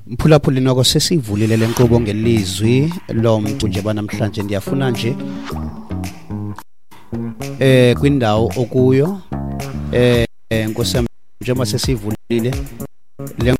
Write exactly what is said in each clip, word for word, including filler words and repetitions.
Mphulaphuli, noko sesivulile le nkqubo ngelizwi lomntu nje banamhlanje. Ndiyafuna nje eh kwindawo okuyo, eh Nkosi yam, njengoba sesivulile le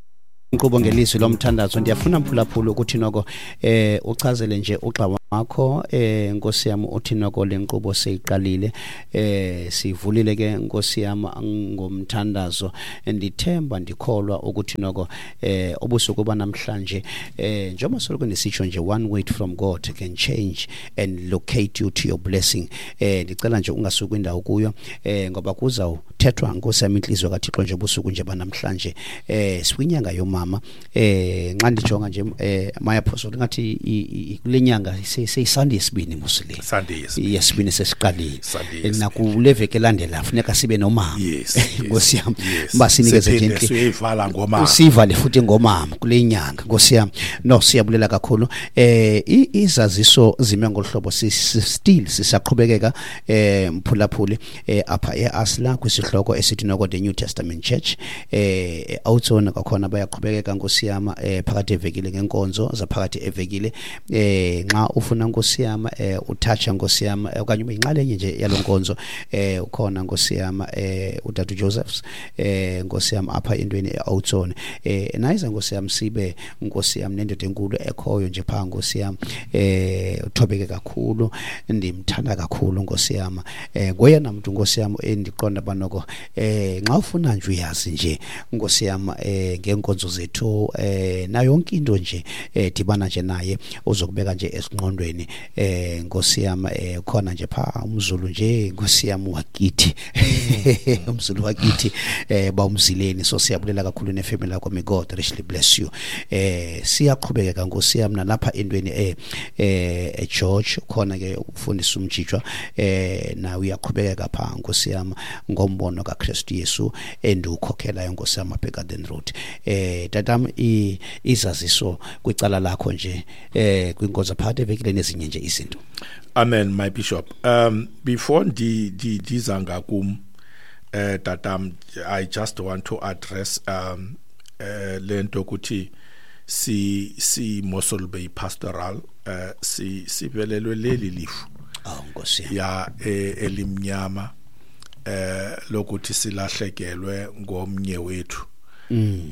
nkqubo ngelizwi lomthandazo, ndiyafuna, mphulaphuli, ukuthi noko eh uchazele nje ugxa wakho, eh Nkosi yam, uthi noko le nkqubo seyiqalile, eh sivulile ke, Nkosi yam, ngomthandazo. Ndithemba, ndikholwa ukuthi noko eh ubusuku banamhlanje, eh njengoba soloko ndisitsho nje, one word from God can change and locate you to your blessing. eh ndicela nje ungasuki kwindawo kuyo, eh ngoba kuzawuthethwa, Nkosi yam, intliziyo kaThixo nje ubusuku nje banamhlanje. eh sikwinyanga yomama. eh nxa ndijonga nje, eh my apostle, ngathi kule nyanga seyiSunday yesibini mos le. Sunday yesibini. Yesibini sesiqalile. Sunday yesibini. Nakule veki elandela funeka sibe nomama. Yes, yes, Nkosi yam, yes. basinikeze nje Siphinde inhli- siyoyivala ngomama. Sivale futhi ngomama kule nyanga, Nkosi yam. No, siyabulela kakhulu. eh i- izaziso zime ngohlobo, still sisaqhubekeka, eh mphulaphuli, eh apha eAsla kwisihloko esithi noko the New Testament Church. eh Outzone kwakhona bayaqhubekeka, Nkosi yam, eh phakathi evekile ngenkonzo zaphakathi evekile. eh nxa ufuna, Nkosi yam, eh uthatha, Nkosi yam, eh, okanye ube yinxalenye nje yalonkonzo, eh ukhona, Nkosi yam, eh utata Josephs, eh Nkosi yam, apha entweni eOutzone. eh nayiza, Nkosi yam, sibe, Nkosi yam, nendoda enkulu ekhoyo nje pha, Nkosi yam, eh uthobeke kakhulu, ndimthanda kakhulu, Nkosi yam, eh ngoyena muntu, Nkosi yam, endiqonda banoko eh nxa ufuna nje uyazi nje, Nkosi yam, eh ngenkonzo zethu eh na yonke into nje, eh dibana nje naye, uzokubeka nje esingqondweni. eh Nkosi yam, eh khona nje pha umZulu nje, Nkosi yam, wakithi, umZulu wakithi, eh bawumzileni. So siyabulela kakhulu nefamily yakho. May God richly bless you. eh siyaqhubeka, Nkosi yam, nalapha entweni eh eh George khona ke ukufundisa umjijwa, eh nawe uyaqhubeka pha, Nkosi yam, ngombono kaKristu Yesu endiwukhokhelayo, Nkosi yam, apha eGarden Road. eh tatam i- izaziso kwicala lakho nje, eh kwinkonzo phakathi evekile nezinye nje izinto. Amen, my bishop. um before ndi ndi ndiza ngakum, eh tatam, I just want to address um eh lento ukuthi si si Mossel Bay Pastoral eh si sivelelwe leli lifu Oh, Nkosi yam. Ya eh, elimnyama eh lokuthi silahlekelwe ngomnye wethu,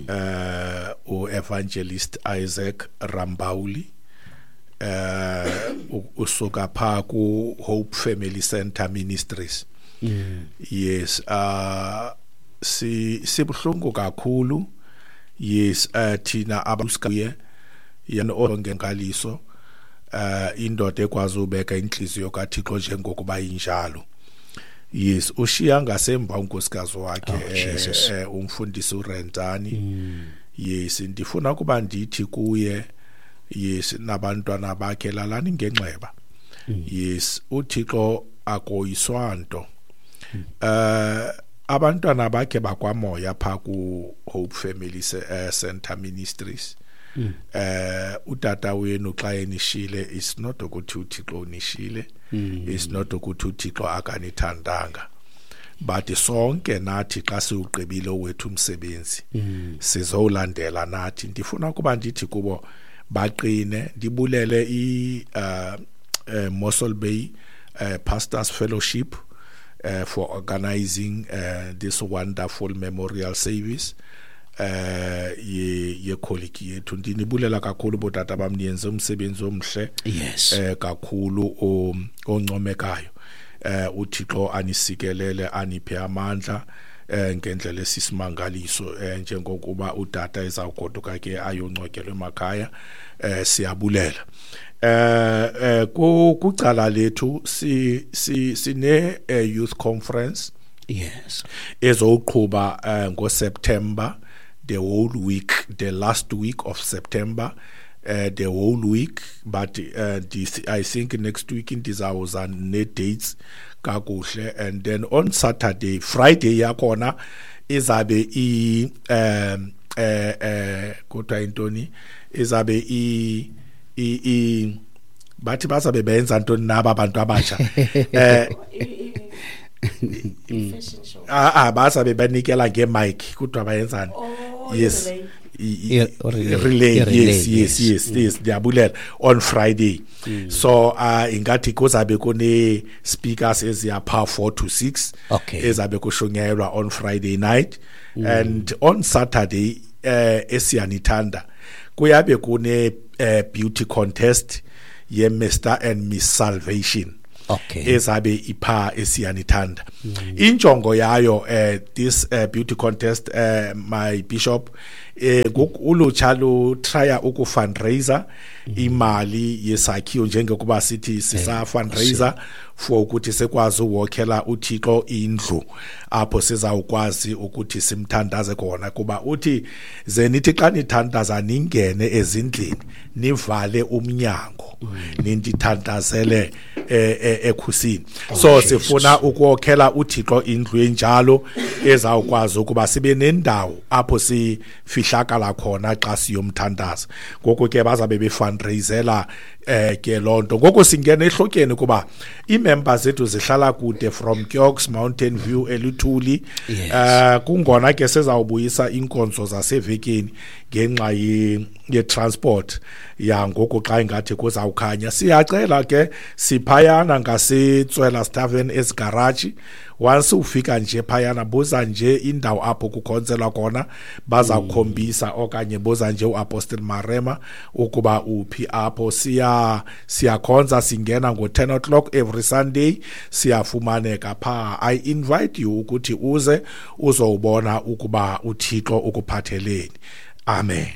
eh uEvangelist Isaac Rambauli, eh u- usuka pha ku Hope Family Center Ministries. Yes, uh si sibhlungu kakhulu. Yes, eh thina abakuye yena ongenkaliso, eh indoda ekwazi ubeka inhliziyo kaThixo njengokuba injalo. Yes, ushiya ngasemva unkosikazi wakhe, Oh, Jesus. eh, eh, umfundisi uRentani. Yes, ndifuna kuba ndithi kuye, yes, nabantwana bakhe, lalani ngenxeba. Yes, uThixo akoyiswa nto. eh abantwana bakhe bakwamoya pha ku Hope Family eh, Center Ministries. eh utata wenu xa enishile, is not ukuthi uThixo unishile, is not ukuthi uThixo akanithandanga, but sonke nathi xa siwugqibile wethu umsebenzi sizowulandela nathi. Ndifuna kuba ndithi kubo baqine. Ndibulele i uh, uh, Mossel Bay uh, Pastors Fellowship uh, for organizing uh, this wonderful memorial service eh ye ye colleague yethu. Ndinibulela kakhulu, botata bam, niyenze umsebenzi omhle yes eh kakhulu o- oncomekayo. eh uThixo anisikelele, aniphe amandla eh ngendlela esisimangaliso, eh njengokuba utata ezawugoduka ke ayongcwatyelwa emakhaya. eh siyabulela. eh eh ku kucala lethu si si sine eh, youth conference yes ezowuqhuba eh, ngoSeptember, the whole week, the last week of September, uh, the whole week. But uh, this, I think next week ndizawuza ne dates kakuhle. And then on Saturday, Friday yakhona izabe i um eh eh kodwa intoni, izabe i i i bathi bazabe benza ntoni naba abantu abatsha? eh Fashion show. Ah ah, bazabe banikela ngemic, kodwa bayenzani? Oh, Yes. yona leyo. relay yes yes yes yes ndiyabulela on Friday. Mm. So uh ingathi kuzabe kune speakers eziyapha four to six okay. ezabe kushunyelwa on Friday night. Mm. And on Saturday eh esiyanithanda kuyabe kune uh, beauty contest ye Mister and Miss Salvation. Okay. Ezabe ipha esiyanithanda. Mm. Injongo yayo eh this uh, beauty contest uh, my bishop eh ulutsha lu try uku fundraiser imali yesakhiwo njengokuba sithi sisa fundraiser for ukuthi sekwazi uwokhela uThixo indlu apho sizawukwazi ukuthi simthandaze khona, kuba uthi ze nithi xa nithandaza ningene ezindlini nivale umnyango nindithandazele ekhusini. So sifuna ukuwokhela uThixo indlu enjalo ezawukwazi ukuba sibe nendawo apho sifihlakala khona xa siyomthandaza. Ngoko ke bazabe befundraisela eh ke lonto. Ngoko singena ehlotyeni kuba ii-members zethu zihlala kude from Kiox, Mountain View, Eluthuli. Eh kungona ke sezawubuyisa inkonzo zasevekeni ngenxa ye-transport ya ngoku xa ingathi kuzawukhanya. Siyacela ke siphayana ngasetswela Tavern esigaraji. Once ufika nje phayana buza nje indawo apho kukhonzelwa khona bazakukhombisa, okanye buza nje uApostle Marema ukuba uphi apho. Siya siyakhonza singena ngo ten o'clock every Sunday, siyafumaneka pha. I invite you ukuthi uze uzobona ukuba uThixo ukuphatheleni. Amen.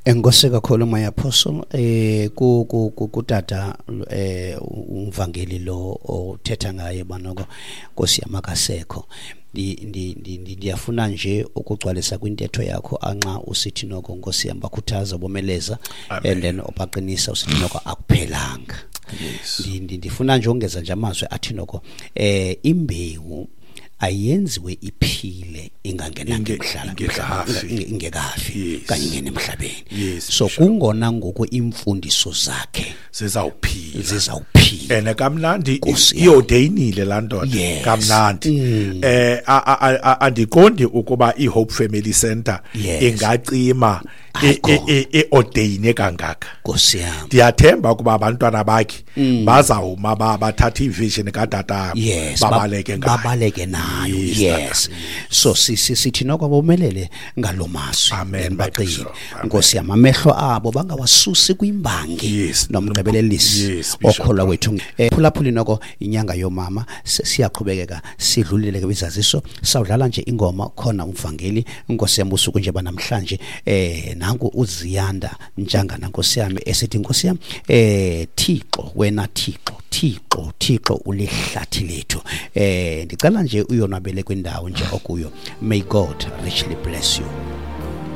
Enkosi kakhulu my apostle eh ku kutata eh umvangeli lo othetha ngaye banoko Nkosi yamakasekho. Ndiyafuna nje ukugcwalisa kwintetho yakho anxa usithi noko Nkosi yam bakhuthaza bomeleza and then obaqinisa usithi noko akuphelanga. Yes. Ndifuna nje ongeza nje amazwi athi noko eh imbewu ayenziwe iphile ingangenanga emhlabeni ingekafi kanye ingene emhlabeni. So kungona ngoku imfundiso zakhe zizawuphila zizawuphila ene kamnandi iodeinile la ndoda kamnandi. Eh andiqondi ukuba iHope Family Center ingacima eordaine kangaka. Nkosi yami ndiyathemba ukuba abantwana bakhe bazawuma bathatha ivision kadata babaleke ngayo babaleke nayo. Yes. So sithi noko bomelele ngalomazwi baqini Nkosi yami amehlo abo bangawasusi kwimbangi nomgqibelelisi okholwa kwethu. Phulaphuli noko inyanga yomama siyaqhubekeka sidlulile ke kwizaziso. Sawudlala nje ingoma khona umvangeli Nkosi yami usuku nje banamhlanje eh nangu uZiyanda Ntshangana Nkosi yami esithi Nkosi yami eh Thixo wena Thixo Thixo Thixo ulihlathi lethu. Eh ndicela nje uyonwabele kwindawo nje okuyo. May God richly bless you.